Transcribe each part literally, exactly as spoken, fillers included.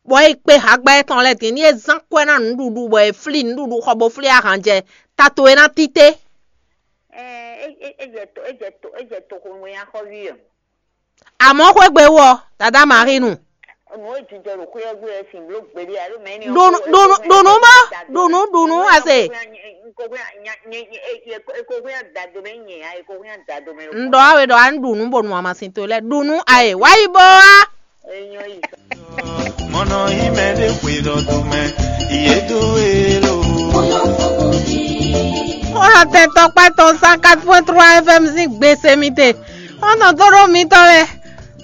bɔ é kpé hǎgbá étɔn lɛ́ɛ din, ní é zán kwɛ́ ná nǔɖuɖu, bɔ è flí nǔɖuɖu xɔ bó flí ahan jɛ, ta towe ná títí. Ejɛ to ejɛ to ejɛ to xomɛ ya xɔ ví ɔ. Àmọ́ xwé gbe wú ɔ, dada Marie nu. Nǔ e jijɔ ɖo xwé ɔ́ gbe ɔ́ sin bló gbeɖé alo mɛ ni. Ɖu nǔ ɖu nǔ ɖu nǔ bó ɖu nǔ ɖu nǔ ase. Ekohwɛ adado mɛ nyɛ ya ekohwɛ adado mɛ. Un ɖɔ awe ɖɔ a ɖu nǔ bó nu amasin towe lɛ́ɛ ɖu nǔ aye wá yi bó wá. Enyɔ yi. Mɔnɔ yi mɛ ɖé xwe ɖɔ do mɛ, yě dó e lo. Xɔlɔtɛn tɔkpá tɔn cent quatre point trois F M sín gbèsè mi te. Xɔ́ntɔn tó ɖó mitɔn lɛ́ɛ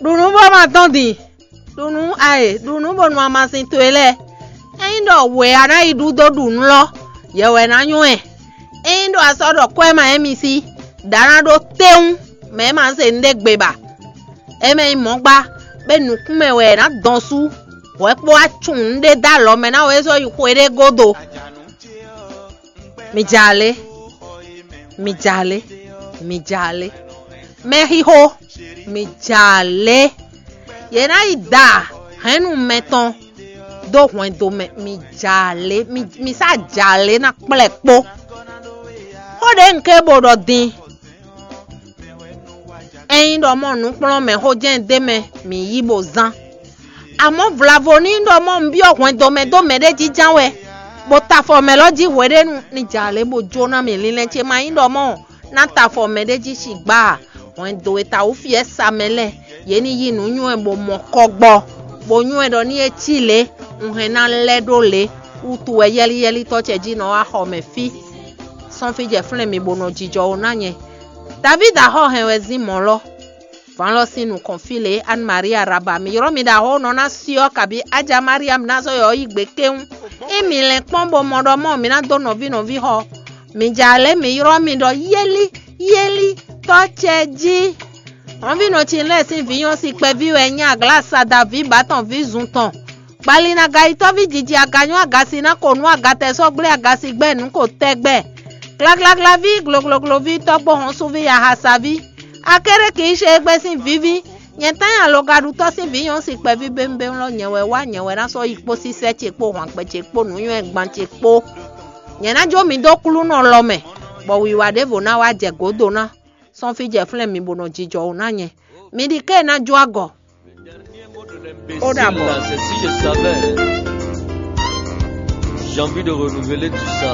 ɖu nǔ bó ma tɔn din. Ɖu nǔ aye ɖu nǔ bó nu amasin towe lɛ́ɛ. Ényí ɖɔ wě a ná yi ɖu dó ɖu nǔ lɔ, yɛ wɛ ná nywɛ́. Ényí ɖɔ a sɔ́ ɖɔ kwɛ́ ma émi sí, ɖǎ ná ɖó téwún, mɛ e ma zé nǔɖé gbe ba. É mɛ nyí mɔ̌ gbá, bó nǔkún mɛ wɛ è nǎ dɔn sú, hwɛ kpó wá cun nǔɖé dó alɔ mɛ ná wɛ é sɔ́ yi xwe ɖé gúdo. Mi ja lě, mi ja lě, mi ja lě. Mɛxixo, mi ja lě. Yě ná yi da hɛ̌nnu mɛtɔn dó hwɛndo mɛ, mi ja lě, mi sá ja lě ná kplɛ́ kpó. Xó ɖě un ké bo ɖɔ din. Ényí ɖɔ mɔ nǔkplɔ́nmɛxó jɛ́n d'é mɛ, mǐ yí bó zán. Amɔ̌ vlavo ní ɖɔ mɔ un byɔ́ hwɛndo mɛ dó mɛɖé jínján wɛ, bó ta afɔ mɛ lɔ jí hweɖénu ní ja lě bó jó ná mì linlɛn ce ma nyí ɖɔ mɔ ná ta afɔ mɛɖé jí sigbá ǎ. Hwɛndo e ta wǔ fyɛ́ sa mɛ lɛ́ɛ, yě ní yí nǔ nywɛ́ bó mɔ kɔ gbɔ, bó nywɛ́ ɖɔ ní é cí lě, un hɛn ná lɛ́ ɖó lě. Wútu wɛ yɛ́líyɛ́lítɔ́ ce jí nɔ wá xɔ mɛ fí. Sɔ́n fí jɛ flɛ́n mi bó nɔ jijɔ ó ná nyɛ. Davídi axɔ́ hɛn wɛ zín mɔ̌ lɔ. Vǎn lɔ sín nukɔn fí lě Anne Maria Raba, mi ylɔ́ mi ɖo axɔ́ nɔ ná syɔ́ kabí Aja Mariam ná zɔ́ yɔ yi gbe kéwún. Ényí mi lɛn kpɔ́n bó mɔ ɖɔ mɔ mi ná dó nɔví nɔví xɔ. Mi ja lě mi ylɔ́ mi ɖɔ yéli yéli tɔ́ ce jí. Hɔnvínɔ ce lɛ́ɛ sín vǐ nyɔ́ si kpɛví wɛ nyí aglá sada vǐ bǎtɔn vǐ zun tɔn. Gbali ná ga yi tɔ́ví jiji aga nyɔ́ aga si ná ko nú aga tɛ sɔ́ gblé aga si gbɛ́ nǔ ko tɛgbɛ. Glaglaglá ví, glogloglo ví, tɔ́gbó hɔn súví, yaha sa ví. Akéré kì í ṣe égbé sín vǐví. Nyɛ tán nyi alogaɖutɔ́ sín vǐ nyɔ́ si kpɛví bémbém lɔ nyɛ wɛ wá nyɛ wɛ ná sɔ́ yi kpó sísɛ́ ce kpó hwangbɛ ce kpó nǔnywɛ́gban ce kpó. Nyɛ ná jó mi dó klúnɔ lɔ mɛ, bɔ wiwa ɖěvo ná wá jɛ gǒdo ná. Sɔ́n fí jɛ flɛ́n mi bó nɔ jijɔ wǔ ná nyɛ. Mi ɖi ké ná jó agɔ. Ó dàbọ̀. C'est si je savais. J'ai envie de renouveler tout ça.